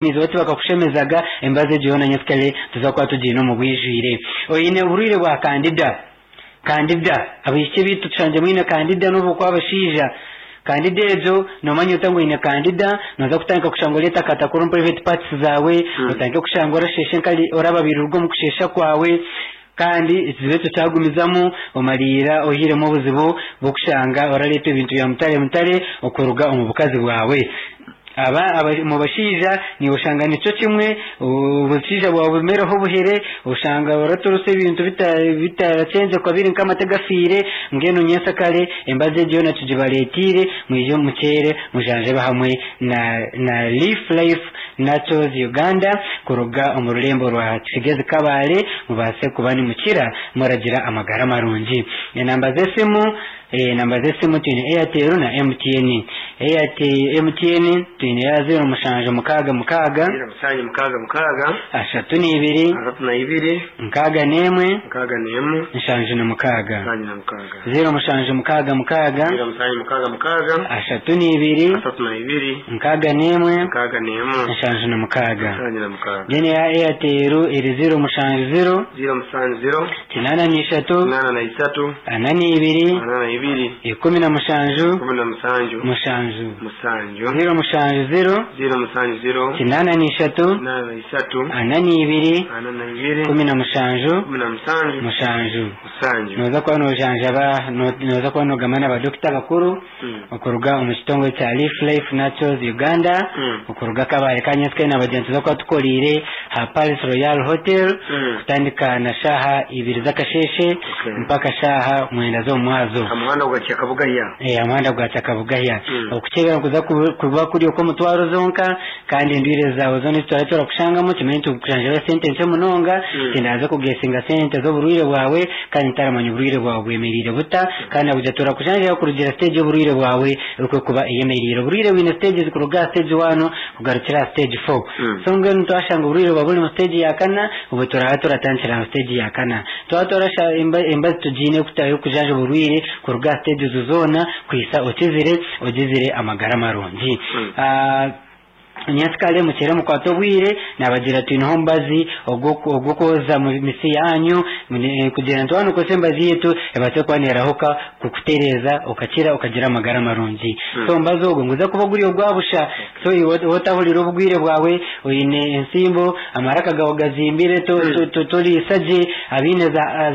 Iwe tibakakushemezaga embazo egyo yoona nyensikare tuza kuba tugiine omu bwijwire. Oine oburwaire bwa kandida, kandida, abaishiki baitu tushangye mwine kandida n'obu okuba abashaija. Kandida egyo noomanya ota ngu oine kandida, nooza kutandika kushanga oreetakatakura omu private parts zaawe, otandike kushanga orasheesha enkari orababirirwa omu kusheesha kwawe, kandi ekizibu ekyo kyagumizamu omariira ohairemu obuzibu bw'okushanga orareetwa ebintu bya mutare mutare okuruga omu bukazi bwawe. Aba omu bashaija naiwe oshanga nikyo kimwe, obushaija bwawe bumereho obuhere, oshanga oraturisa ebintu bitarakyenzekwa biri nk'amate gafiire, mbwenu nyensyakare embazo egyo yoona tugibareeteire mwije mukyere mujanjabe hamwe na na Leaf Life Naturals Uganda kuruga omu rurembo rwa Kigezi Kabale mubaase kuba nimukira muragira amagara marungi. Enamba z'esimu. Enamba z'esimu twine Airtel na MTN. Airtel, MTN twine ya 0766. 0766. 32. 32. 61. 61. 76. 76. 0766. 0766. 32. 32. 61. 61. 76. 76. Then eya Airtel eri 070. 070. 83. 83. 42. 42. 17. 17. 7. 7. 070. 070. 83. 83. 42. 42. 17. 17. 7. 7. Nooza kuba noojanjaba, nooza kuba noogamba na badokita bakuru okuruga omu kitongore kya Leaf Life Naturals Uganda okuruga Kabale Kanyetsike na bagyenzi tuza kuba tukoriire aha Palace Royal Hotel kutandika na shaaha ibiri z'akasheeshe mpaka shaaha mwenda z'omumwazo. Aha muhanda gwa Kyakabugahya. Aha muhanda gwa Kyakabugahya. Okukyebera nikuza kuba kuri okw'omutwaro zonka kandi endwire zaawe zoona ezi turaabe turakushangamu kimanye nti tukujanjabe sente nkye munonga tindaaze kugesinga sente z'oburwaire bwawe kandi ntaramanya oburwaire bwawe bwemereire buta kandi nakugira turakujanjaba kurugira stage y'oburwaire bwawe oku ekuba eyemereire. Oburwaire bwine stages kuruga aha stage one kugarukira aha stage four. So mbwenu twashanga oburwaire bwawe buri mu stage ya kana, obwo turaba turatandikira aha stage ya kana. Twaba twarasha embazi tugiine y'okujanjaba oburwaire kuruga aha stage ezo zoona kuhisa okizire ogizire amagara marungi. Nyensikare mukyere mukwate obwire, naabagira twineho omubazi ogw'okwoza mitsi yaanyu kugira ngu twaba nitukozesa emibazi yaitu ebaase kuba neerahuka kukutereeza okakira okagira amagara marungi. So omubazi ogwo niguza kuba guri ogwa busha, so iwe otahurira obugwire bwawe oine entsimbo, amaraka gaawe gazimbire, toriisa gye, abaine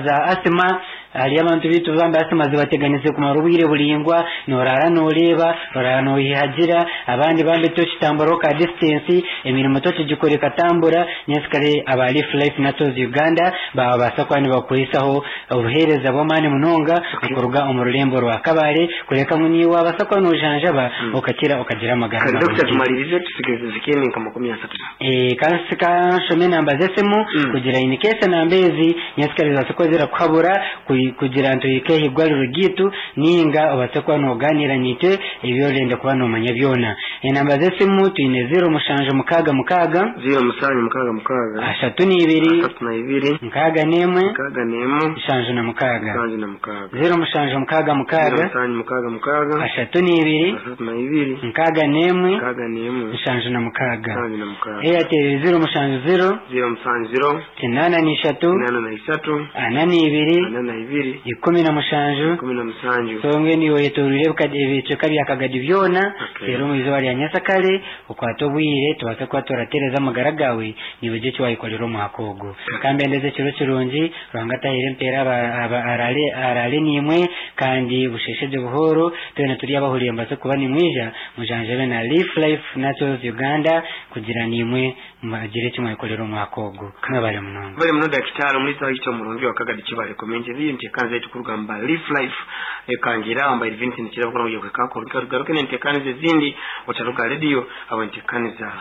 za asima. Hariyo abantu baitu bambi asima zibateganise kumara obwire buraingwa, noraara noreeba, oraara nohihagira, abandi bambi tokitamburaho ka distance, emirimo tokigikora ekatambura, nyensikare aba Leaf Life Naturals Uganda babaasa kuba nibakuhisaho obuheereza bw'amaani munonga okuruga omu rurembo rwa Kabale kureka ngu naiwe wabaasa kuba nojanjaba okakira okagira amagara Kare Dokita marungi. tumalirize tusigaze zikeni nka 30. Ka nshome enamba z'esimu kugira in case enamba ezi nyensikare zibaase kuba zirakuhabura kugira nti ohike aha igwariro ryaitu ninga obaase kuba nogaaniira naitwe ebi orenda kuba nomanya byona. Enamba z'esimu twine 0766. 0766. 32. 32. 61. 61. 76. 76. 0766. 0766. 32. 32. 61. 61. 76. 76. Airtel 070. 070. 83. 83. 42. 42. 17. 17. So mbwenu iwe oyetoreire ebicweka bya Kagadi byona, reero omu izooba rya nyensakare okwate obwire tubaase kuba turatereeza amagara gaawe naiwe ogire eki waayekorera omwaka ogu. Ka mbendeze ekiro kirungi, Ruhanga ataheere empeera araare naimwe kandi busheeshe gye buhooro, twena turi abahuriire mubaase kuba nimwija mujanjabe na Leaf Life Naturals Uganda kugira naimwe mugire eki mwayekorera omwaka ogu. Mwebare munonga. Mwebare muno Dakitari omuriisa waitu omurungi wa Kagadi Kibale Community Eyo enteekaniza yaitu kuruga omu ba Leaf Life ekangira aho mbaire Vincent Kirabo kurora ngu yakuhika aho tugaruke n'enteekaniza ezindi otaruga aha rediyo ahabw'enteekaniza.